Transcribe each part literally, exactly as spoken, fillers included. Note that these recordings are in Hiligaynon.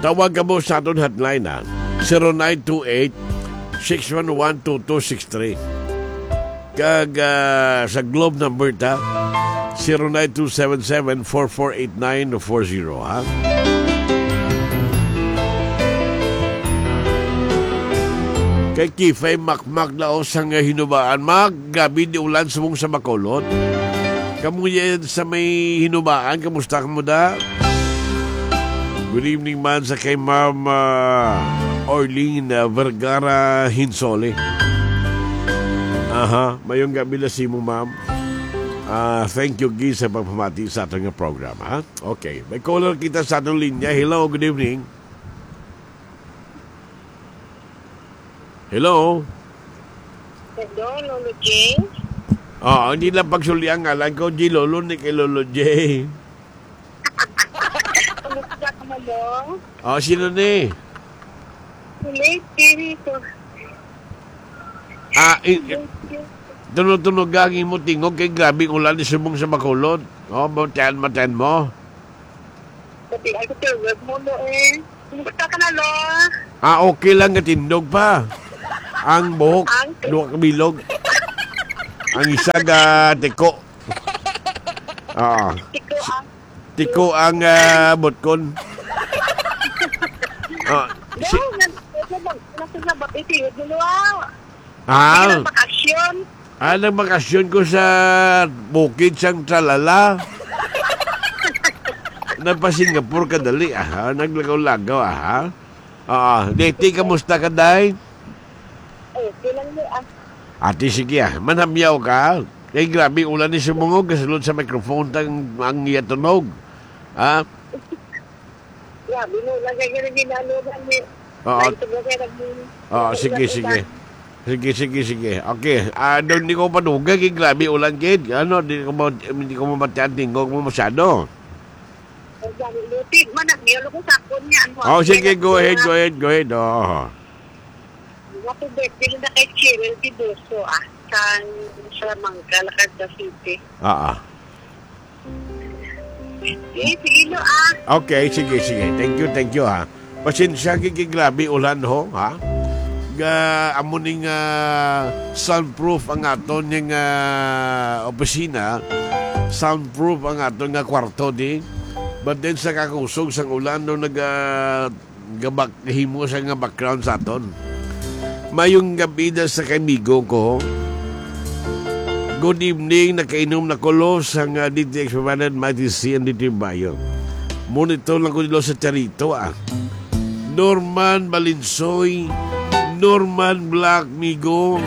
Tawag kamo sa aton hotline, ha? Zero nine two eight, six one one, two two six three. Kag, ah, sa Globe number ta, zero nine two seven seven, four four eight nine four zero, ha? Kay Kifay Makmak na o sa nga hinubaan, Mak, gabi di ulan subong sa Bacolod. Kamo yan sa may hinubaan, kamusta kamo da? Good evening man sa kay Ma'am, ah, Orlene, ah, Vergara Hinsole. Aha, mayong gabi na simo, ma'am. Ah, thank you, Gi, sa pagpamati sa aton nga program, ha? Okay, may caller kita sa aton linya. Hello, good evening. Hello? Hello, Lolo J? Ah, hindi lang pagsuli ang ngalan ko, G Lolo, ni kay Lolo J. Kumusta ka, Manong? Ah, sino ni? Late, Kiri ko. Ah, i-, i-, tunog-tunog ang imo tingog kay grabe ang ulan ni subong sa Bacolod. Oh, matayan, matayan mo. Pati ay ko, wag mo, no, eh. Kumusta ka na, Lo? Ah, okay lang, gatindog pa. Ang buhok, Ang duha ka bilog. Ang isa ga tiko. Ah, Tiko ang tiko ang, ah, butkon. Ah, si Lo, nag-, nag-, nag-, nag-, nag-, Ah, Nagpakasyon. Ah, nagbakasyon ko sa bukid sang Tralala. Nagpa-Singapore ka dali, aha. Naglagaw-lagaw, aha. Ah, Leti, kamusta ka, day? Okay lang mo, ah. Ate, sige, ah. Manhamyaw ka. Kay grabe, ulan ni sumungog, kasulod sa microphone tang ang iya tunog. Ah? Grabe mo, lagay ka na ginalo na ni. Oo. May tubo ka na ni. Oo, sige, sige. Sige, sige, sige. Okay. Ah, doon di ko padugay, kay grabe ulan, kid. Ano, di ko ma-, di ko mabatian tingog mo masyado. Ang dami, lupig man, ang miyolo ko sa akon niya, ano, Oh, ang sige, hirap go ahead, niya. Go ahead, go ahead. Oo. Happy birthday na kay Cheryl Tiboso, ah, sa Salamanca, Lacarta City. Ah, ah. Eh, sige, no, ah. Okay, sige, sige. Thank you, thank you, ha. Pasensya, kay grabe ulan, ho, ha? Ga, amo ning, ah, soundproof ang aton ning, ah, opisina. Soundproof ang aton nga kwarto, di. But then, sa kakusog sang ulan, no, nag, ah, gabak-, himo siya nga background sa aton. Mayong gabi da sa kaibigo ko. Good evening, nakainom na ko, Lo, sa nga D T X five hundred, Mighty C and D T Bayo. Monitor lang ko, Lo, sa Charito, ah. Norman Balinsoy, Norman Black Migo.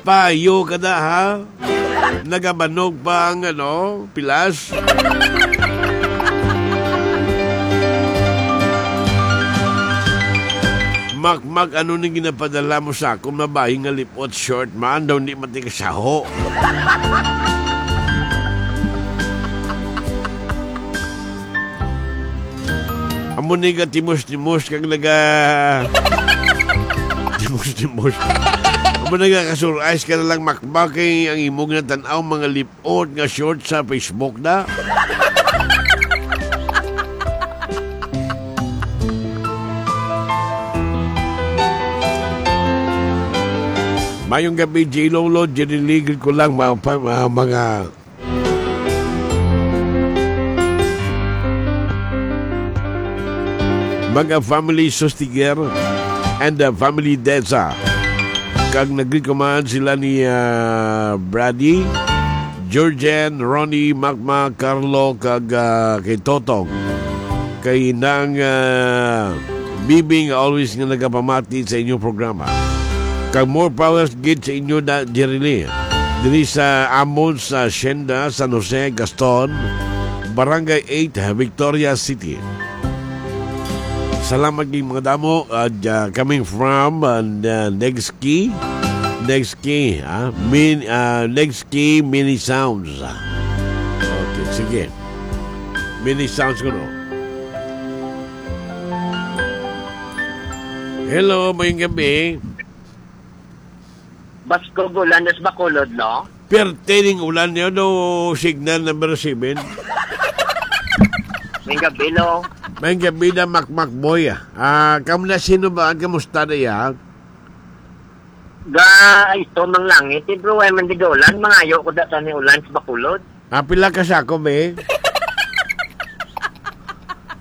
Payo ka na, ha? Nagabanog pa ang, ano, pilas. Makmak, ano ning ginapadala mo sa akon? Mabayi nga lipot, short man, daw di matikasaho. Amo ni ka timos-timos kag naga-, timos-timos. Amo nagakasurais ka na lang, Makmak, kay ang imo ginatan-aw mga lip-ot nga short sa Facebook na. Mayong gabi, J Lolo, Jenny Lee, greet ko lang mga, mga, mga Mga family Sustiger and, uh, family Deza. Kag nag-greet ko man sila ni, uh, Brady, Georgian, Ronnie, Makmak, Carlo, kag, uh, kay Totong. Kay Nang, uh, Bibing, always nga nagapamati sa inyong programa. Kag more power gid sa inyo na, Jerry Lee. Diri sa amon sa Hacienda, San Jose, Gaston, Barangay eight, Victoria City. Salamat kay mga damo, uh, ja-, coming from, uh, Negski. Negski, ah, Min-, uh, Negski Mini Sounds. Okay, sige. Mini Sounds ko, no? Hello, mayong gabi. Baskog ulan sa Bacolod, no? Pertaining ulan niya, no, signal number seven. May gabi, lo. May gabi na, Makmak Boy. Ah, kamu na, sino ba? Ang kamusta na ya? Ga, ito, mang langit. Eh, bro, ay man di ulan. Mangayo ko da sa ni ulan sa Bacolod. Ah, pila ka sako, be?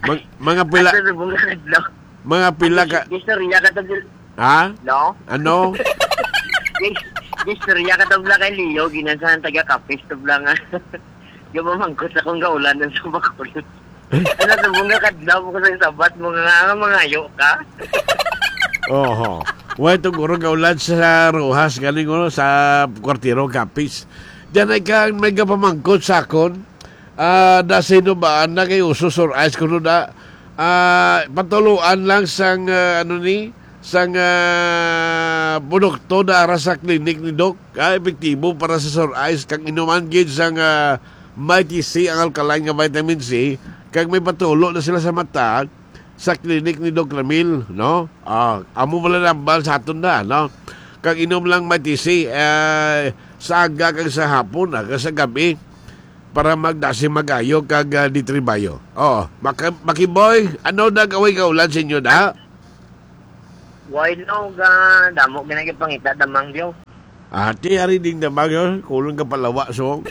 Mag-, mga pila, Asa sa bunga adlaw? Mga pila ka, Gistorya ka to, ha? No? Ano? Gis-, gistorya ka to, bla, kay Leo. Ginansahan taga Capiz to, bla, nga. Gamamangkot sa kong gaulan sa Bacolod. Ano sa bunga kadlaw mo sa sabat mo nga nga mangayo ka? Oho. Way, to guro gaulan sa Roxas, galing, ano, sa Kwartero, Capiz. Diyan ay kang may gapamangkot sa akon. Ah, da sino ba na kay uso sur ice kuno da? Ah, patuluan lang sang, ah, ano ni, sang, ah, produkto na ara sa clinic ni Doc. Ah, epektibo para sa sore eyes, kag inuman gid sang, ah, Mighty C, ang alkaline nga vitamin C, kag may patulo na sila sa mata sa clinic ni Doc Ramil, no? Ah, amo wala nambal sa aton na, no? Kag inom lang Mighty C, eh, sa aga kag sa hapon, ah, kag sa gabi, para magdasi magayo kag, ah, ditribayo. Oh, Maki-, Makiboy, ano nag-away ka ulan sa inyo na? Why no, ga, damo ginagipangita damang diyo. Ati, ari ding damang yun. Kulang ka palawa, so.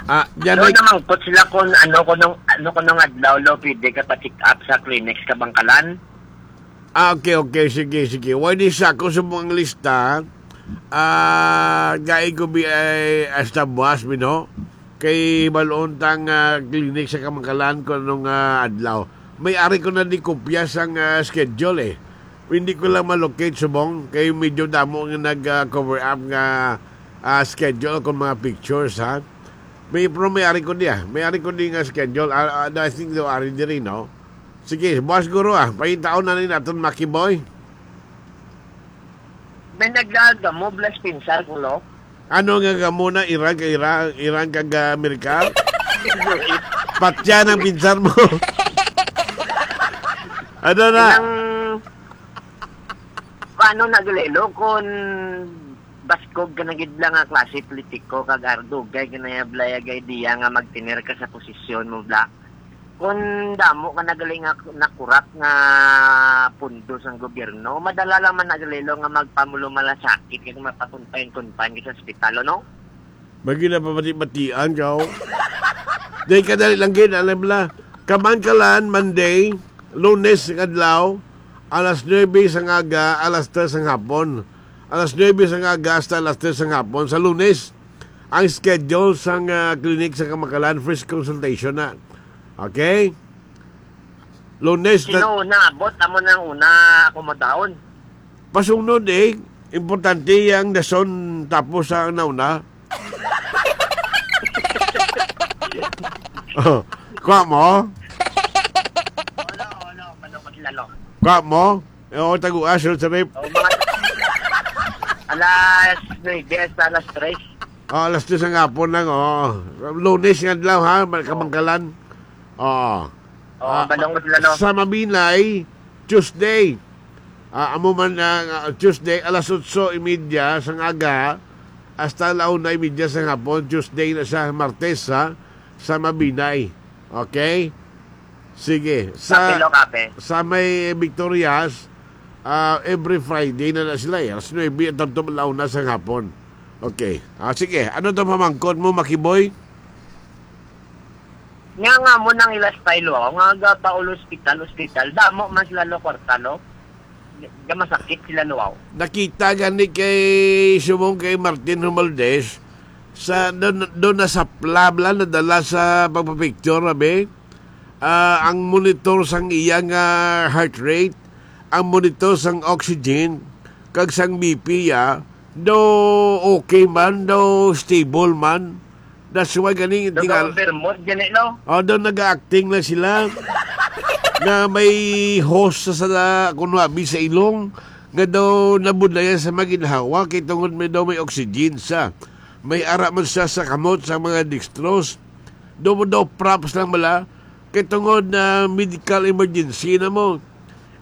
Ah, yan. No, ay namangkot sila kung ano, kung nung, ano, kung nung adlaw, lo, pwede ka pa-check up sa clinics ka Bangkalan. Ah, okay, okay. Sige, sige. Why di sa ako sa mga lista? Ah, gai ko bi ay hasta buwas, mi, no? Kay balon tang, ah, clinic sa Kamangkalan ko nung, ah, adlaw. May ari ko na di kopya sang, ah, schedule, eh. Hindi ko lang ma-locate subong kay medyo damo nga nag, ah, cover up nga, ah, schedule kung mga pictures, ha. May, pero may ari ko di, ah. May ari ko di nga schedule. Ah, ah, I think do ari diri, no? Sige, buwas guro, ah. Pahitaon na ni naton, Maki Boy. May nagdaan ka mo, bless pinsar ko, lo? Ano nga gamo na Iran ka Iran, Iran kag Amerika? Patya ng pinsar mo. Ano na? Ilang, paano nagalelo kung baskog ka na gid lang nga klase politiko kag ardugay ka na ya, bla, ya, gay diya nga magtener ka sa posisyon mo, bla? Kung damo ka na gali nga nakurap nga pundo sang gobyerno, madala lang man na gali, lo, nga magpamulumalasakit kag mapakunpayan-kunpayan ka sa ospital, no? May ginapamati-matian ka, oh. Dahil kadali lang gid, alam la. Kamankalan, Monday, Lunes nga adlaw, alas nuebe sang aga, alas tres sang hapon. Alas nuebe sang aga hasta alas tres sang hapon. Sa Lunes, ang schedule sang, ah, clinic sa Kamankalan, first consultation na. Okay? Lunes na. Sino una abot? Amo nang una akomodahon. Pasunod, eh. Importante ang dason tapos sa nauna. Oh, kuha mo? Wala, wala. Manukot lalo. Kuha mo? Oo, taguas, Sir Sarip. Oh, mga alas nuebe hasta alas tres. Oh, alas tres ang hapon lang, oh. Lunes nga adlaw, ha, Kamankalan. Oh. Oh, ah, balong sila, no? Sa Mabinay, Tuesday. Ah, amo man, ah, Tuesday, alas otso y media sang aga, hasta la una y media sang hapon, Tuesday na siya, Martes, ha, sa Mabinay. Okay? Sige. Sa, Kape, lo, kape. Sa may Victorias, ah, every Friday na na sila, eh. Alas nuebe at tanto la una sang hapon. Okay. Ah, sige. Ano to pamangkot mo, Makiboy? Nga nga mo nang ila style, wow, nga ga pa ulo hospital, hospital, damo man sila lo kwarta, lo. Ga masakit sila, lo, wow. Nakita gani kay subong kay Martin Romualdez sa do, do na sa plabla nadala sa pagpapicture, abi. Ah, ang monitor sang iya nga heart rate, ang monitor sang oxygen, kag sang B P ya, do okay man, do stable man. That's why gani, Daw tingal-, overmood gani, no? Oh, daw nag-acting lang sila. Nga may hose sa, sa, kuno abi sa ilong, nga daw nabudlayan sa maginhawa, kay tungod may daw may oxygen sa. May ara man siya sa kamot sa mga dextrose. Daw, daw props lang bala, kay tungod na medical emergency na mo.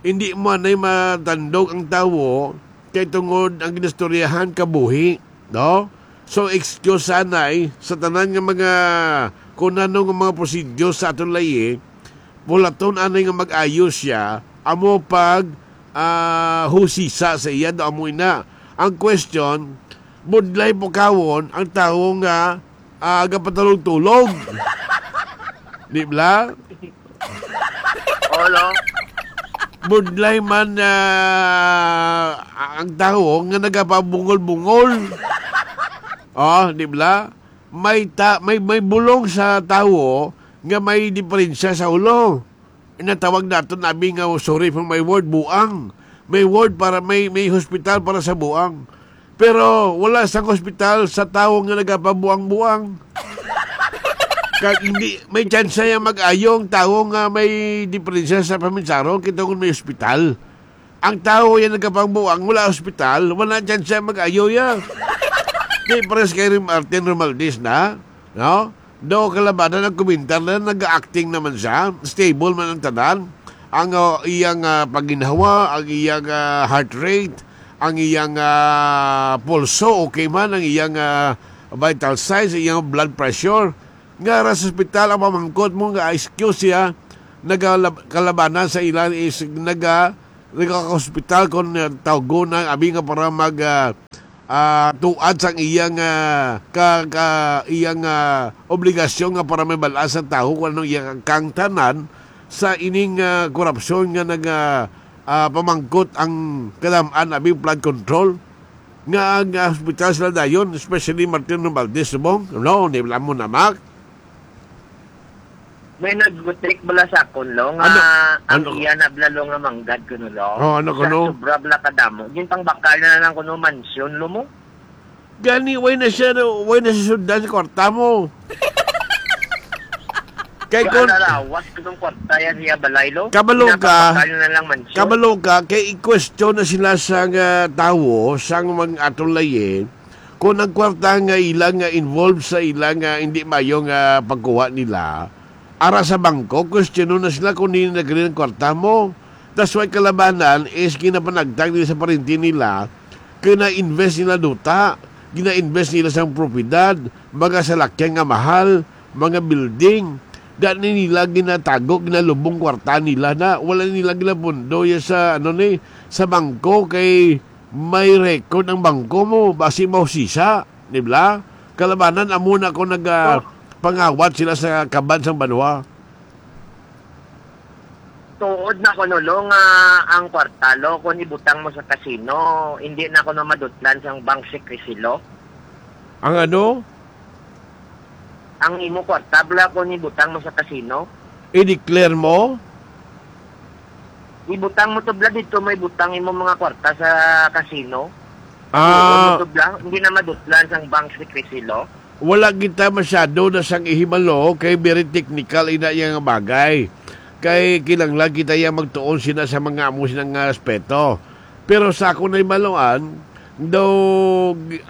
Hindi mo anay matandog ang tawo, kay tungod ang ginistoryahan kabuhi. No? So, excuse anay sa tanan nga mga kung ano nga mga prosedure sa aton layi, pulaton anay nga mag-ayo siya, amo pag, ah, husisa sa iya, daw amo ina. Ang question, budlay pukawon ang tawo nga, ah, gapatulog-tulog. Di bala? Olo. Budlay man, ah, ang tawo nga nagapabungol-bungol. Oh, di bala? May ta-, may, may bulong sa tawo nga may diferensya sa ulo. Natawag naton abi nga, sorry for my word, buang. May ward para, may, may hospital para sa buang. Pero wala sang hospital sa tawo nga nagapabuang-buang. Kag hindi, may tsansa yang mag-ayo ang tawo nga may diferensya sa paminsaro, kita kung may ospital. Ang tawo yang nagapangbuang, wala ospital, wala tsansa mag-ayo ya. Di pares kay Rim-, Martin Romualdez na, no? Do kalabanan ang komentar na nag-acting naman siya, stable man ang tanan. Ang, uh, iyang, uh, pagginhawa, ang iyang, uh, heart rate, ang iyang, uh, pulso, okay man, ang iyang, uh, vital signs, iyang blood pressure. Nga ra sa ospital ang pamangkot mo nga excuse siya, nagalab-, kalabanan sa ilan is naga-, nagaka-hospital kung, uh, tawgon na abi nga para mag, uh, ah, tuad sang iyang, ah, ka, ka, iyang, ah, obligasyon nga para may bal-an sa tawo kung anong iyang kangtanan sa ining, ah, korupsyon nga nag, ah, ah, pamangkot ang kadam-an abi flood control nga ang, ah, hospital sila dayon, especially Martin Romualdez subong. No, ni mo na, Mac? May nagbutik bala sa akon, lo, nga Ano? ang Ano? iya na bala, lo, nga manggad kuno, lo. Oh, ano Sa kuno? sobra bala kadamo. Ginpangbakal na lang kuno mansyon, lo mo. Gani, way na siya, no? Way na siya sundan sa kwarta mo. Kay Kaya kun-, nalawas ko ng kwarta yan iya balay, lo. Kabalo ka, Ginapabakal na lang mansyon. kabalo ka, kay i-question na sila sa nga tawo, sa mga atong layi, kung ang kwarta nga ila nga involved sa ila nga hindi mayo nga pagkuha nila, ara sa bangko, questionon na sila kung hindi nagkari ang kwarta mo. That's why kalabanan is ginapanagtag nila sa parinti nila, kina-invest nila duta, gina-invest nila sa propiedad, mga salakyan nga mahal, mga building. Dani nila ginatago, ginalubong kwarta nila na. Wala nila ginapundo ya sa, ano ni, sa bangko kay may record ang bangko mo, basi mausisa, di ba? Kalabanan, amo na ko nag, ah, Oh. pangawat sila sa kaban sang banwa. Tuod na ko, no, lo, nga ang kwarta, lo, kung ibutang mo sa kasino, hindi na ko na madutlan sang bank secrecy, lo. Ang ano? Ang imo kwarta, bala, kung ibutang mo sa kasino. I-declare mo? Ibutang mo to, bala, dito may butang imo mga kwarta sa kasino. Ah. Ibutang mo to, bala, hindi na madutlan sang bank secrecy, lo. Wala kita masyado na sang ihibalo kay very technical ina iya nga bagay. Kay kinahanglan kita iya magtuon sina sa mga amo sina nga aspeto. Pero sa akon nahibaluan, daw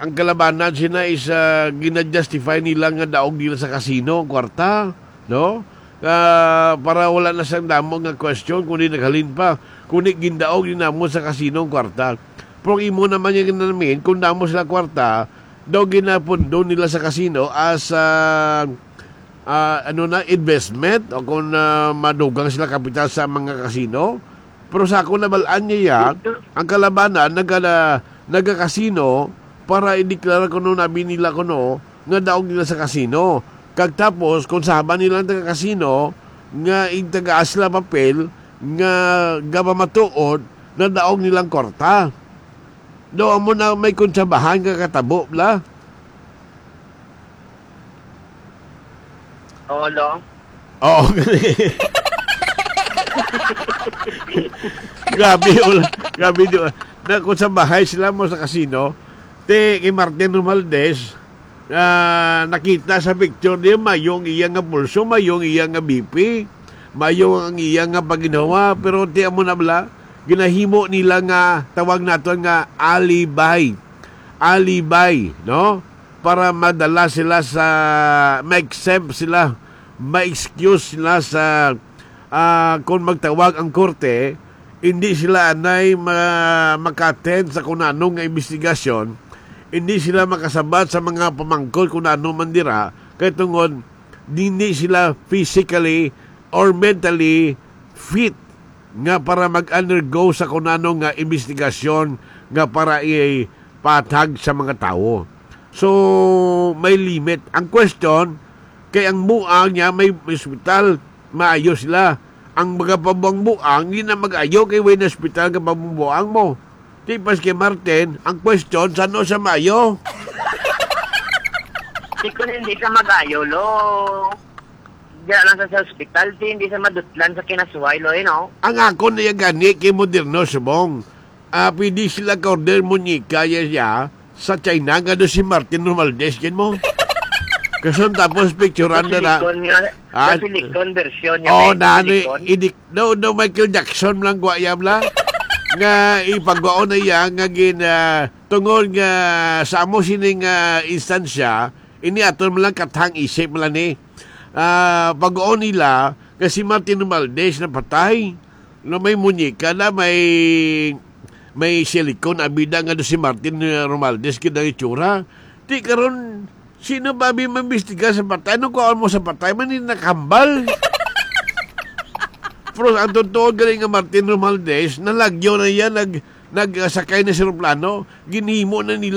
ang kalabanan sina is, ah, gina-justify nila nga daog nila sa kasino ang kwarta, no? Ah, para wala na sang damo nga question kung di naghalin pa, kung di gindaog ni namo sa kasino ang kwarta. Pero ang imo naman yung ginamin, kung damo sila kwarta, daw ginapundo nila sa kasino as, ah, ah, ano na, investment, o kung, ah, madugang sila kapital sa mga kasino. Pero sa akong nabal-an niya, ang kalabanan naga-, nagakasino para ideklara kuno nabi nila kuno nga daog nila sa kasino. Kag tapos, kung saban nila ang taga-kasino nga igtagaan sila papel nga gapamatuod na daog nilang kwarta. Do amo na may kontrabahan nga katabo, bla? Oo, lo. Oo. Grabe, wala. Grabe, di ba? Na, kung sa bahay sila mo sa kasino, ti kay Martin Romualdez, ah, nakita sa picture niya, mayong iya nga pulso, mayong iya nga B P, mayong ang iya nga paginawa, pero ti amo na bala, ginahimo nila nga, tawag naton nga alibi. Alibi, no? Para madala sila sa, ma-exempt sila, ma-excuse sila sa, ah, kung magtawag ang korte, hindi sila anay ma-, maka-attend sa kung ano nga investigasyon, hindi sila makasabat sa mga pamangkot kung ano man dira, kay tungod hindi sila physically or mentally fit nga para mag-undergo sa kunano nga investigasyon nga para ipatag sa mga tawo. So, may limit. Ang question, kay ang buang niya may ospital, maayo sila. Ang mga pabuang-buang, hindi na mag-ayo kay way na ospital nga pabuang mo. Di pas kay Martin, ang question, saan siya maayo? Di ko hindi ka mag-ayo, lo. Diyan lang sa, sa ospital, di hindi sa madutlan sa kinasuway, lo, eh, no? Ang akon na gani kay moderno subong. Ah, pwede sila ka-order muñeca ya siya sa China nga do si Martin Romualdez, kin mo? Kason tapos picturean na na. Silicone nga, Ah, silicone version niya. Oh, eh, na ni silicone. Idik no, no, Michael Jackson lang gwa ya bla. Nga ipagwaon na iya nga gin ah, tungod nga sa amo sining ah, instansya, ini aton man lang katang isip man lang ni. Ah, pagwaon nila nga si Martin Romualdez napatay. No, may muñeca na, may may silicone abida nga do si Martin ah, Romualdez kid ang itsura. Di karon sino ba bi maimbestiga sa patay? Ano kuha mo sa patay? Man ni nakambal. Pero ang totoo gali nga Martin Romualdez, nalagyo na iya, nag, nagsakay na sa eroplano, ginhimo na nila